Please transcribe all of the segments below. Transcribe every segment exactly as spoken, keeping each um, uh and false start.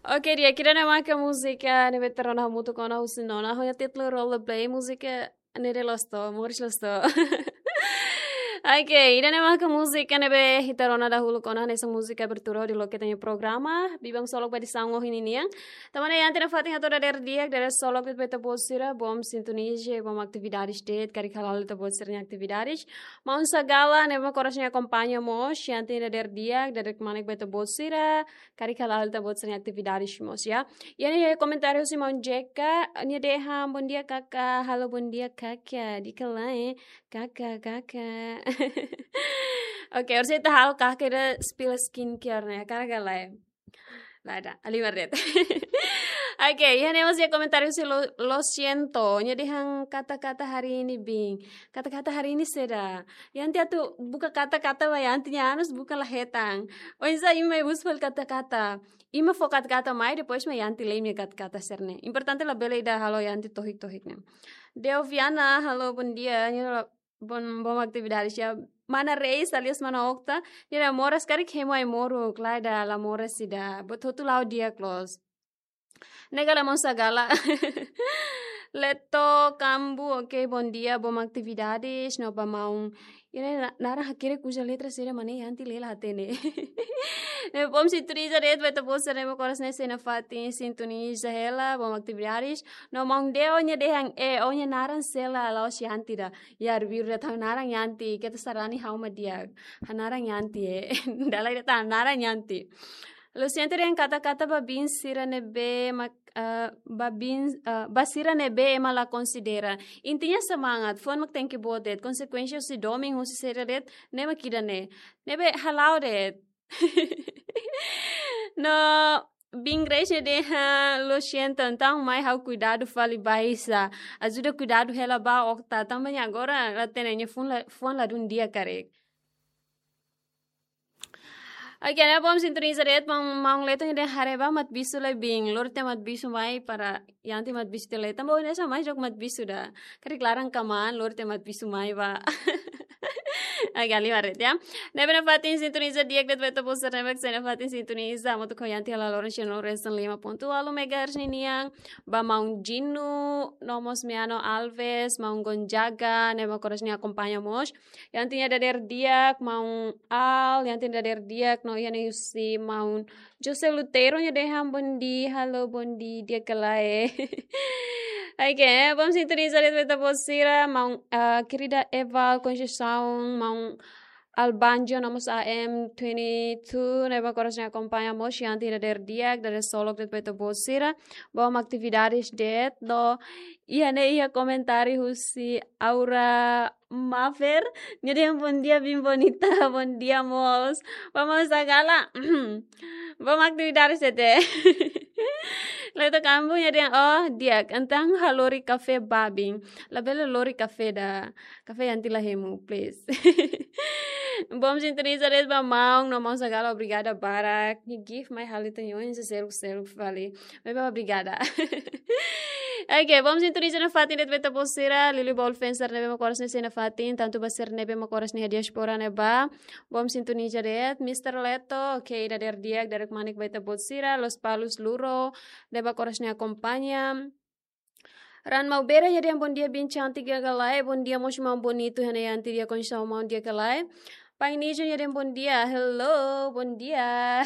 Oke, di'ak, ida-ne'e maka múzika ne'ebé ita rona hamutuk ona husi nona, ho nia títulu Rollerblade, múzika ne'e loos tebes, moris loos tebes. Oke, ida-ne'e maka múzika ne'ebé ita rona dahuluk ona, hanesan múzika abertura hodi loke ita-nia programa Biban Solok ba edisaun ohin ninian. Tanba ne'e iha ita-nia fatin hato'o dadeer di'ak, dadeer solok de'it ba ita-boot sira, bom sintoniza, bom atividades de'it, karik hala'o ita-boot sira-nia atividades. Maun Sagala, ne'ebé mak oras ne'e akompaña mós, iha ita-nia dadeer di'ak, dadeer kmanek ba ita-boot sira, karik hala'o ita-boot sira-nia atividades mós, ya. Iha ne'e komentáriu husi maun Jeka, nia dehan, "Bom dia, Kaka." Halo, bom dia, Kaka. Di'ak ka lae, Kaka, Kaka. Oke, orsida ita halo Kaka ida spill skincare ne'e, hakarak ka lae? Lae, halimar de'it. Oke, iha ne'e mós iha komentáriu husi lo, lo siento. Nia dehan kata-kata hari ini, Biin. Kata-kata hari ini saida? Iha ita atu buka kata-kata ba iha ita-nia anus, buka la hetan. Oinsá imi mai husu fali kata-kata? Imi fó kata-kata mai, depois mak iha ita lee imi-nia kata-kata sira-ne'e. Importante labele ida halo iha ita tohik-tohik ne'e. Deo Viana, halo, bom dia. Nia la, bom, bom atividades, ya. Mana Reis, alias Mana Okta, nia dehan moras karik hemu ai-moruk, lae, ida la moras ida. Buat hotu la'o di'ak loos. Ne'e ka lae, maun Sagala? Leto Kambu, oke, bom dia, bom atividades, no ba maun. Ida-ne'e na-, naran hakerek uza letra saida mak ne'e, iha ita lee la hatene. Ne'e bom sintoniza de'it ba ita-boot sira ne'ebé mak oras ne'e sei nafatin sintoniza hela, bom atividades. No maun Deo nia dehan, eh, ó-nia naran sela, la'ós iha ita ida. Ya, arbiru de'it, ha'u naran iha ita, keta sarani ha'u mak di'ak. Ha'u naran iha ita, eh. Dala ida tan, naran iha ita. Lo siento dehan kata-kata ba biin sira ne'ebé mak, eh, ba biin, eh, ba sira ne'ebé ema la konsidera. Intinya semangat, fuan mak tenke boot de'it. Konsekuénsia husi domin, husi saida de'it, ne'e mak ida-ne'e. Ne'ebé hala'o de'it. No, Biin Reis nia dehan, lo siento, entaun mai ha'u kuidadu fali ba Isa. Ajuda kuidadu hela ba Okta, tanba nia agora la hatene, nia fuan la, fuan ladún di'ak karik. Oke, ne'e bom sintoniza de'it, maun, maun Leto nia dehan haree ba maibé bisu lai Biin, lori tiha maibé bisu mai para iha ita maibé bisu tiha lai. Tanba ohin ne'e sá mai jogo maibé bisu ida. Karik laran kmaan, lori tiha maibé bisu mai ba. Oke, halimar de'it, ya. Ne'ebé nafatin sintoniza di'ak de'it ba ita-boot sira ne'ebé mak sei nafatin sintoniza, hamutuk ho iha ita hela loron sino resin lima ponto walu megahertz ninian, ba maun Jinu, no mós Miano Alves, maun Gonzaga, ne'ebé mak oras ne'e akompaña mós. Iha ita-nia dadeer di'ak, maun Al, iha ita-nia dadeer di'ak, no iha ne'e husi maun José Lutero nia dehan bom dia, halo bom dia, di'ak ka lae. Oke, bom sintoniza de'it ba ita-boot sira, maun, ah, querida Eva Conceição, maun Albanjo, no mós A M twenty-two, ne'ebé mak oras ne'e akompaña mós, iha ita-nia dadeer di'ak, dadeer solok de'it ba ita-boot sira, bom atividades de'it, no iha ne'e iha komentáriu husi Aura Mafer, nia dehan bom dia, Biin Bonita, bom dia mós. Ba maun Sagala, bom atividades de'it. Leto Kambu nia dehan, oh, di'ak, entaun ha'u lori kafé ba Biin. Labele lori kafé ida. Kafé iha ita la hemu, please. Bom sintoniza de'it ba maun, no maun Sagala obrigada barak. Nia gift mai halo ita-nia oin seluk-seluk fali. Maibé obrigada. Oke, bom sintoniza nafatin de'it ba ita-boot sira, liuliu ba ulfenser ne'ebé mak oras ne'e sei nafatin, tantu ba sira ne'ebé mak oras ne'e iha diáspora ne'ebá. Bom sintoniza de'it, Mister Leto, oke, ida dadeer di'ak, dadeer kmanek ba ita-boot sira, Lospalos Luro, ne'ebé mak oras ne'e akompaña. Ran Maubera nia dehan bom dia Biin cantik, di'ak ka lae, bom dia mós maun Bonito, iha ne'e iha ita-nia Conceição maun, di'ak ka lae. Pai Nijo nia dehan bom dia, hello, bom dia.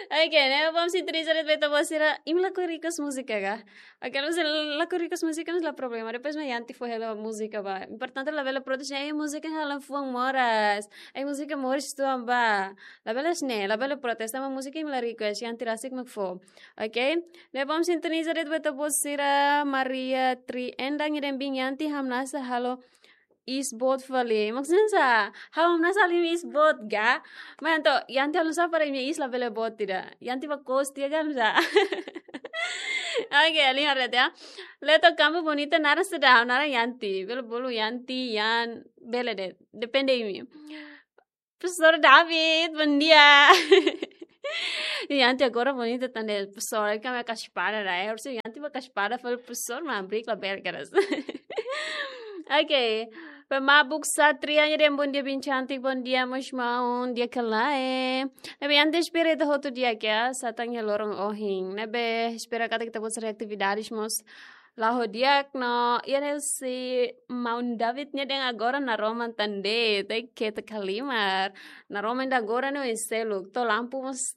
Oke, ne'e bom sintoniza de'it ba ita-boot sira, imi lakohi request múzika ka? Oke, se lakohi request múzika, la problema, depois mak iha ita fó hela múzika ba. Importante labele protes, ai múzika halo fuan moras. Ai múzika moris uitoan ba. Labele hanesan ne'e, labele protes, tanba múzika imi la request, iha ita rasik mak fó. Oke? Ne'e bom sintoniza de'it ba ita-boot sira, Maria Tri Endang nia dehan Biin, iha ita hamnasa halo iis boot fali. Maksudnya sá, ha'u hamnasa halo iis boot ka? Maibé entaun, iha ita halo sá para imi-nia iis labele boot ida. Iha ita ba kos tiha ka sá. Oke, halimar de'it ya. Leto Kambu Bonita naran saida, naran iha ita. Bele bolu iha ita, iha, bele de'it. Depende imi. Profesór David, bom dia. Iha ita agora Bonita tan de'it, profesór, kami kasih pada dah, ya. Harusnya iha ita ba kasih pada fali profesór, maibé labele keras. Oke. Pemabuk Satria nia dehan bondia biin cantik, bondia mós maun, di'ak ka lae. Ne'ebé antes espera ita hotu di'ak ya, satán iha loron ohin. Ne'ebé espera katak ita-boot sira-nia atividades mós la'o ho di'ak no, iha ne'e husi maun David nia dehan agora naroman tan de'it, ita keta halimar. Naroman ida agora ne'e oin seluk, to'o lampu mós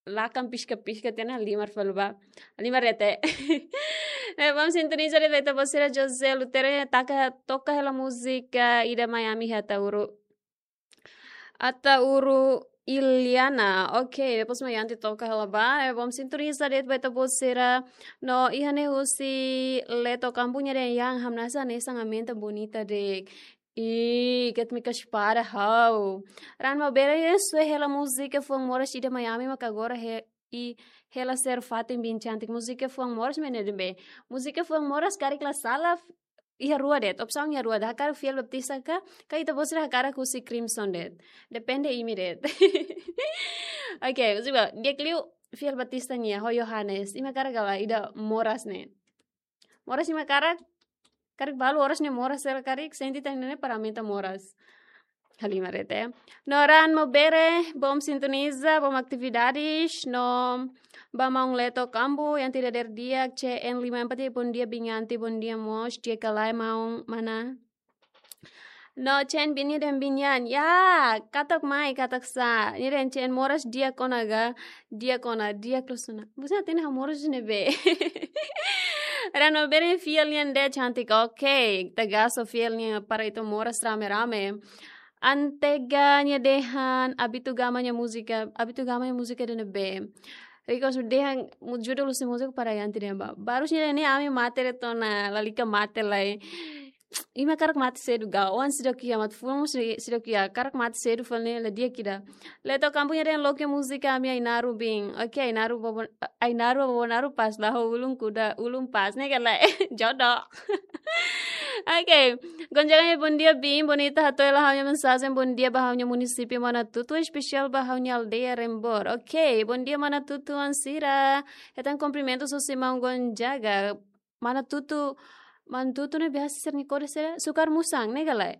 lakan piska-piska tiha ona, halimar fali ba. Halimar de'it. Eh, vamos sintoniza de'it ba ita-boot sira. José Lutero nia taka, toka hela múzika ida Miami iha Ataúru. Ataúru Iliana. Ok, depois mai Yanti toka hela ba. Eh, vamos sintoniza de'it ba ita-boot sira. No iha ne'e husi Leto Kambu nia dehan hamnasa hanesan aumenta bonita de'it. Ih, ket mi kaspada hau. Raan Maubere nia sue hela múzika fuan moras ida Miami maka agora he, i hela sira fatin biin cantik. Múzika fuan moras mak ne'e de'it be. Múzika fuan moras karik la sala f-, iha rua de'it. Opsaun iha rua de'it. Hakarak Fiel Baptista ka, ka ita-boot sira hakarak husi Crimson de'it. Depende imi de'it. Ok, múzika. Di'ak liu Fiel Baptista nia, ho Yohanes. Imi hakarak ka lae ida moras ne'e. Moras imi hakarak, karik balu oras ne'e moras sira karik, sente tan ne'e para aumenta moras. Halimar de'it. No Raan Maubere, bom sintoniza, bom atividades, no ba maun Leto Kambu, Yanti dadeer di'ak, C N lima empat, bondia biin Yanti, bondia mós, di'ak ka lae maun, mana? No, C N biin nia dehan biin Yan. Ya, katak mai, katak sá. Nia dehan C N moras di'ak ona ga, di'ak ona, di'ak loos ona. Busa tene ha moras ne'ebé. Raan Maubere Fiel nian de'it cantik. Ok, tagaso Fiel nian para ita moras rame-rame. Antega nia dehan Abitu Gama nia múzika, Abitu Gama nia múzika ida ne'ebé. Riko su dehan mu-, judul husi múzika para Yanti dehan ba. Barus nia dehan ne'e ami mate de'it ona, lalika mate lai. Imi hakarak mate sedu ga, oan seidauk iha, mate-fuan mós sei-, seidauk iha, hakarak mate sedu fali ne'e la di'ak ida. Leto Kambu nia dehan loke múzika ami Ainaro biin. Ok, Ainaro bobo, Ainaro bobo Naro pas la ho ulun kuda, ulun pas ne'e ka lae. Jodoh. Ok. Gonzaga nia bondia biin, bonita hato'o hela ha'u-nia mensajen bondia ba ha'u-nia munisípiu Manatutu, espesiál ba ha'u-nia aldeia Rembor. Ok, bondia Manatutu oan sira. Hetan kumprimentus husi maun Gonzaga. Manatutu, Manatutu ne'e biasa sira-nia kode sira, Sukar Musang, ne'e ka lae?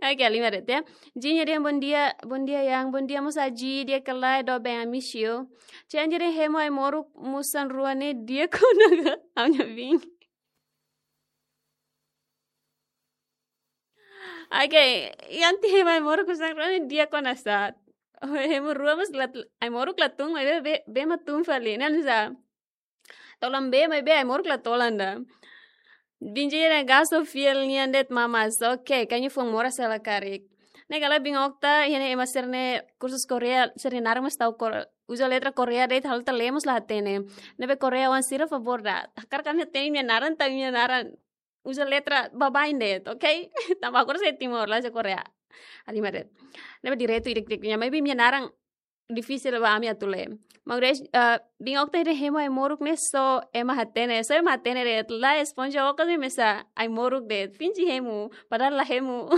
Ok, halimar de'it ya. Ji nia dehan bondia, bondia Yan, bondia mós Aji, di'ak ka lae, doben, I miss you. Ci Anji dehan hemu ai-moruk musan rua ne'e di'ak ona ga, ha'u-nia biin. Ok, Yanti hemu ai-moruk musan rua ne'e di'ak ona sá. Hemu rua mós lat-, ai-moruk la tun, maibé, bee, bee mak tun fali, ne'e sá. Tolan bee, maibé ai-moruk la tolan ida. Biin Ji dehan gaso Fiel nian de'it mamas. Ok, kaña fuan moras hela karik. Ne'e ka lae biin Okta, iha ne'e ema sira-nia kursus Korea, sira-nia naran mós tau Kor-, uza letra Korea de'it, halo ita lee mós la hatene. Ne'ebé Korea oan sira favór ida. Hakarak ami hatene imi-nia naran, tanba imi-nia naran uza letra baibain de'it, ok? Tanba agora sei Timor, la'ós Korea. Halimar de'it. Ne'ebé direitu ida-idak nian, maibé imi-nia naran difisil ba ami atu lee. Maibé, eh, biin Okta dehan hemu ai-moruk ne'e só ema hatene, só ema hatene de'it, la Esponja Okta ne'e mesak ai-moruk de'it, finji hemu, padahal la hemu.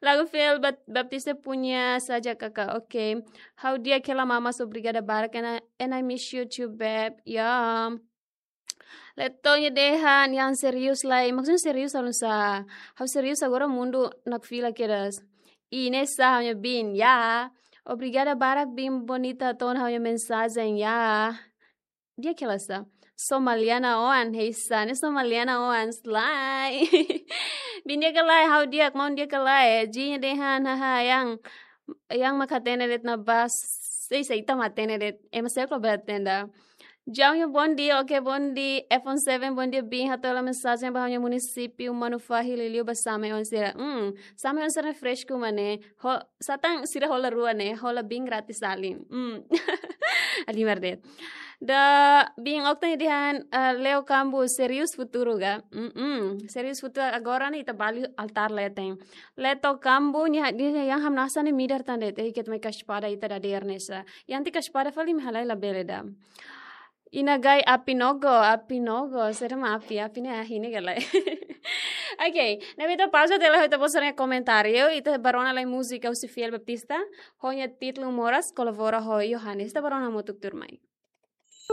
Lagu Fiel Bat-, Baptista punya saja kakak, ok. Ha'u di'ak hela mamas, obrigada barak, and I, and I miss you too, babe. Ya. Leto nia dehan, Yan serius lai. Maksudnya serius halo nu'usá? Ha'u serius agora mundu nakfila kedas. I ne'e sá ha'u-nia biin, ya. Obrigada barak biin bonita hato'o ona ha'u-nia mensajen, ya. Di'ak ka lae sá? Somaliana oan, heisa, ne'e Somaliana oan, slay. Biin di'ak ka lae, ha'u di'ak, maun di'ak ka lae. Ji nia dehan, haha, Yan, Yan mak hatene de'it na bas. Sei, sei, ita mak hatene de'it. Ema seluk la bele hatene ida. Jauhnya bondia, ok, bondia, iPhone seven, bondia, biin, hato'o hela mensajen ba ha'u-nia munisípiu Manufahi, liuliu ba same oan sira. Hmm, same oan sira fresku mak ne'e. Ho, satán sira hola rua ne'e, hola biin gratis alin. Hmm. Halimar de'it. Ida biin Okta nia dehan, eh, Leo Kambu, serius futuru ga? Mm-mm. Serius futuru agora ne'e ita balu altár leten. Leto Kambu nia dehan hamnasa ne'e midar tan de'it, eh, ket mai kaspada ita dadeer ne'e sá. Yanti kaspada fali imi halai labele ida. Ina gai api nogo, api nogo, sira mak api, api ne'e ahi ne'e ka lae. Ok, ne'ebé ita pauza tiha lai ho ita-boot sira-nia komentáriu, ita bá rona lai múzika husi Fiel Baptista, ho nia títulu Moras, kolabora ho Yohanes, ita bá rona hamutuk tuirmai.